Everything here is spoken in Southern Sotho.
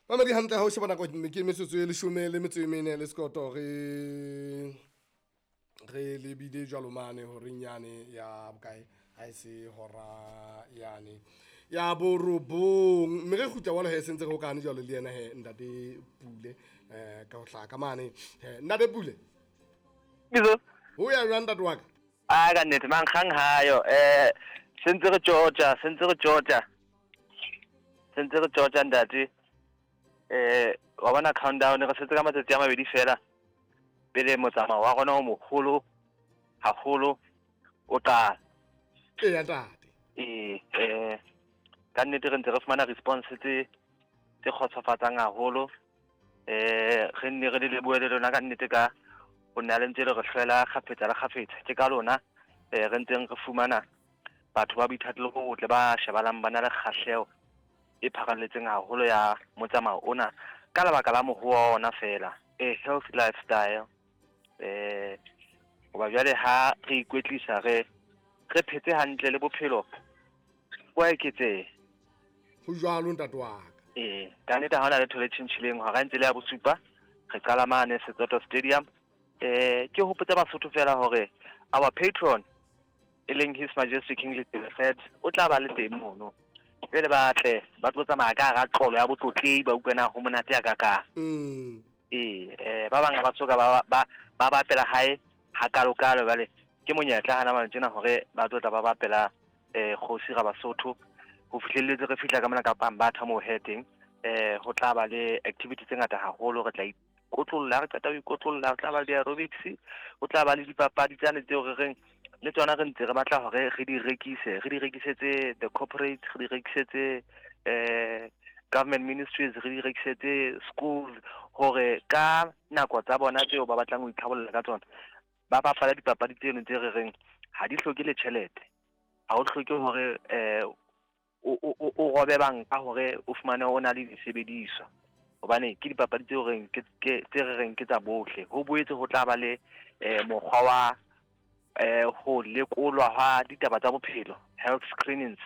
Mamedi hantle ha o sheba nako ke metsotso e leshome le metso e mene le sekoto re re lebile jwalo mane horeng yane ya bokae ha e se hora yane ya borobong mme re kgutla jwalo he sentse re hokane jwalo le yena he ntate Pule ka ho hlaka mane he ntate Pule. Bizo. Ho ya jwang ntate wa ka? A ka nnete mankgang hayo sentse re tjotja sentse re tjotja sentse re tjotja ntate wa bona countdown re setse ka matsatsi a mabedi fela pele motsamao wa rona o moholo haholo o qala. Eya ntate. Ee ka nnete re ntse re fumana response tse tse kgotsofatsang haholo. Re nne re le lebohe le lona ka nnete ka ho nna le ntse le re hlwela kgafetsa le kgafetsa. Ke ka lona re ntseng re fumana batho ba boithatelo bo botle ba shebalang ba na le kgahleho e pharalletseng haholo ya motsamao ona ka lebaka la moruo wa ona fela, a healthy lifestyle. Hoba jwale ha re ikwetlisa re re phetse hantle le bophelo bo a eketseha. Ho jwalo ntate wa ka. Ee, ka nnete ha hona letho le tjhentjhileng hora e ntse le ya bosupa re qala mane Setsoto Stadium. Ke hopotse Basotho fela hore our patron e leng His Majesty King Letsie III o tla ba le teng mono. Jwale ba tle ba tlo tsamaya ka hara qolo ya botlotlehi ba utlwe na ho monate ya kakang. Ee, ba bang ha ba soka ba ba ba bapela hae hakalokalo jwale ke monyetla hana jwale tjena hore ba tlo tla ba bapela kgosi ra Basotho ho fihlelletse re fihla ka mona ka Pambatha moo he teng ho tla ba le activity tse ngata haholo re tla ikotlolla ha re qeta ho ikotlolla ho tla ba le di-aerobics ho tla ba le dipapadi tsane tseo re reng le tsona re ntse re batla hore re di rekise re di rekisetse the corporate re di rekisetse government ministries re di rekisetse schools hore ka nako tsa bona tseo ba batlang ho itlhabolla ka tsona ba bapala dipapadi tseno tse re reng ha di hloke le tjhelete ha o hloke hore o robe banka hore o fumane o na le disebediswa hobane ke dipapadi tseo reng ke tse re reng ke tsa bohle. Ho boetse ho tla ba le mokgwa wa ho lekolwa hwa ditaba tsa bophelo, health screenings.